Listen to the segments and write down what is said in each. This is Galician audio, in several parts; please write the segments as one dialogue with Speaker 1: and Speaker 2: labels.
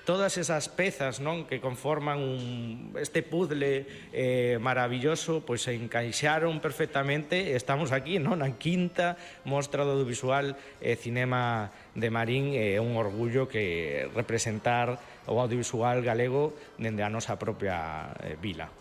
Speaker 1: todas esas pezas, non, que conforman este puzzle maravilloso, pois se encaixaron perfectamente. Estamos aquí, non, na quinta mostra do audiovisual cinema de Marín. É un orgullo que representar o audiovisual galego dende a nosa propia vila.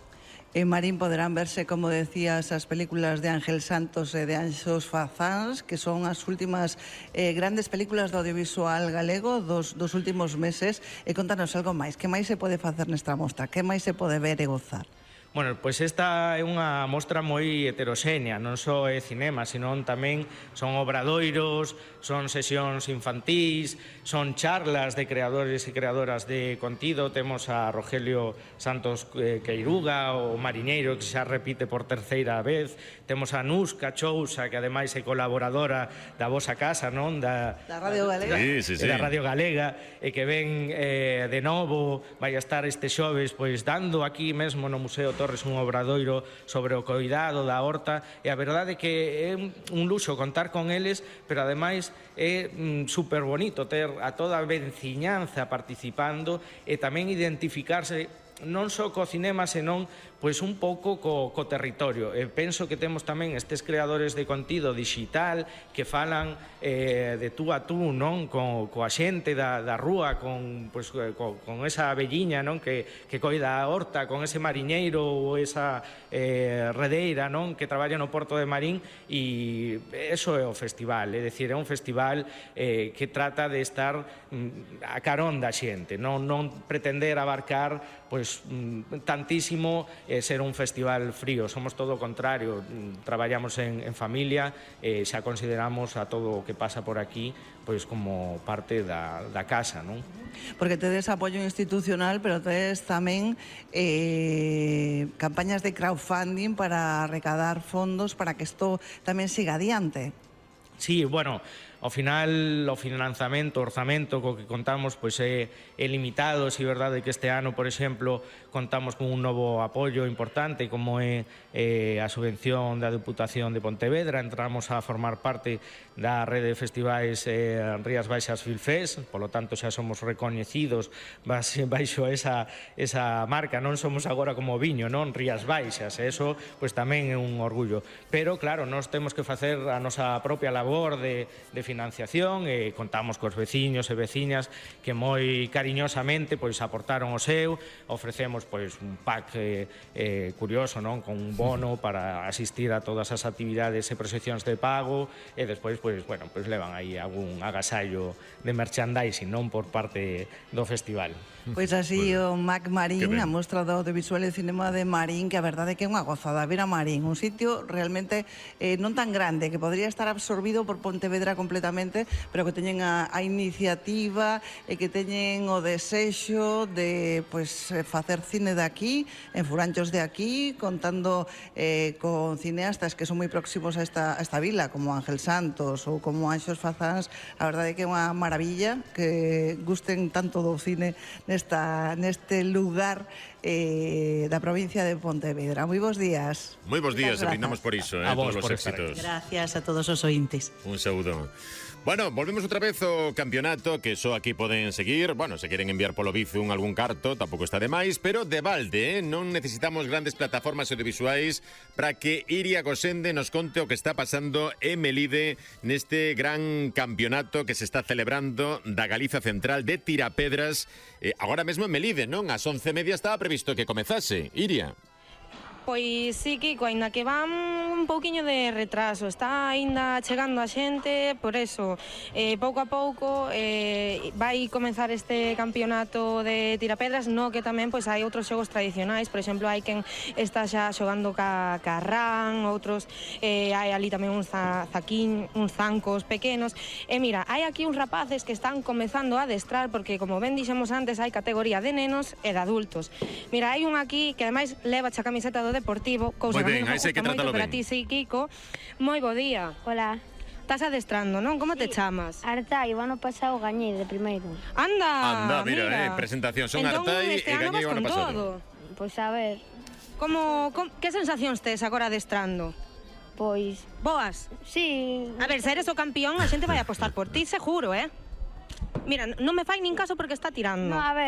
Speaker 2: En Marín poderán verse, como decías, as películas de Ángel Santos e de Anxos Fazáns, que son as últimas grandes películas do audiovisual galego dos últimos meses. E contanos algo máis. Que máis se pode facer nesta mostra? Que máis se pode ver e gozar?
Speaker 1: Bueno, pois esta é unha mostra moi heteroxénea, non só é cinema, senón tamén son obradoiros, son sesións infantís, son charlas de creadores e creadoras de contido. Temos a Rogelio Santos Queiruga, o mariñeiro, que xa repite por terceira vez. Temos a Nusca Chousa, que ademais é colaboradora da vosa casa, non?
Speaker 2: Da Radio Galega.
Speaker 1: Da Radio Galega, e que ven de novo, vai a estar este xoves pois dando aquí mesmo no Museo Torres un obradoiro sobre o coidado da horta, e a verdade é que é un luxo contar con eles, pero ademais é super bonito ter a toda a veciñanza participando e tamén identificarse non só co cinema, senón pois un pouco co territorio. Penso que temos tamén estes creadores de contido digital que falan de tú a tú, non, coa xente da rúa, con esa velliña, non, que coida a horta, con ese mariñeiro ou esa redeira, non, que traballa no Porto de Marín. E eso é o festival, é dicir, é un festival que trata de estar a carón da xente, non pretender abarcar pois tantísimo ser un festival frío. Somos todo o contrario, traballamos en familia, xa consideramos a todo o que pasa por aquí pois como parte da casa, non?
Speaker 2: Porque tedes apoio institucional, pero tedes tamén campañas de crowdfunding para recadar fondos para que isto tamén siga adiante.
Speaker 1: Sí, bueno, ao final o financiamento, o orzamento co que contamos pois é limitado. Si é verdade que este ano, por exemplo, contamos con un novo apoio importante como é a subvención da Deputación de Pontevedra. Entramos a formar parte da rede de festivais Rías Baixas Filfest, polo tanto xa somos recoñecidos baixo esa marca. Non somos agora como Viño, non, Rías Baixas, e eso pois tamén é un orgullo. Pero claro, nós temos que facer a nosa propia labor de financiación, e contamos cos veciños e veciñas que moi cariñosamente pois aportaron o seu. Ofrecemos pois un pack curioso, non, con un bono para asistir a todas as actividades e proxeccións de pago, e despois pois bueno, pois levan aí algún agasallo de merchandising, non, por parte do festival.
Speaker 2: Pois así o MAC Marín, a mostra do audiovisual e cinema de Marín, que a verdade é que é unha gozada ver a Marín, un sitio realmente non tan grande, que podría estar absorbido por Pontevedra completamente, pero que teñen a iniciativa e que teñen o desexo de facer cine de aquí, en furanchos de aquí, contando con cineastas que son moi próximos a esta vila, como Ángel Santos ou como Anxos Fazáns. A verdade é que é unha maravilla que gusten tanto do cine neste lugar da provincia de Pontevedra. Moi bons días.
Speaker 3: Moi bons días, e brindamos por iso, todos os éxitos.
Speaker 4: Gracias a todos os ointes.
Speaker 3: Un saúdo. Bueno, volvemos outra vez ao campeonato, que só aquí poden seguir. Bueno, se queren enviar polo Bizum algún carto, tampouco está de máis, pero de balde, non necesitamos grandes plataformas audiovisuais para que Iria Gosende nos conte o que está pasando en Melide neste gran campeonato que se está celebrando da Galiza Central de Tirapedras, agora mesmo en Melide, non? Ás 11:30 estaba previsto que comezase. Iria.
Speaker 5: Pois sí, Kiko, aínda que van un pouquiño de retraso, está aínda chegando a xente, por eso, pouco a pouco vai comenzar este campeonato de tirapedras, no que tamén pois hai outros xogos tradicionais, por exemplo, hai quen está xa xogando ca rán, outros hai ali tamén uns zancos pequenos, e mira, hai aquí uns rapaces que están comezando a adestrar, porque como ben dixemos antes, hai categoría de nenos e de adultos. Mira, hai un aquí que ademais leva a camiseta do Deportivo, cousa que me gusta moito, pero a ti sí, Kiko. Moi bo día.
Speaker 6: Hola.
Speaker 5: Estás adestrando, non? Como te chamas?
Speaker 6: Artai, o ano pasado gañei de primeiro.
Speaker 5: Anda,
Speaker 3: mira, presentación, son Artai e gañei o ano pasado.
Speaker 6: Pois a ver.
Speaker 5: Que sensacións tes agora adestrando?
Speaker 6: Pois...
Speaker 5: Boas?
Speaker 6: Sí.
Speaker 5: A ver, se eres o campeón, a xente vai apostar por ti, seguro, Mira, non me fai nin caso porque está tirando.
Speaker 6: No, a ver.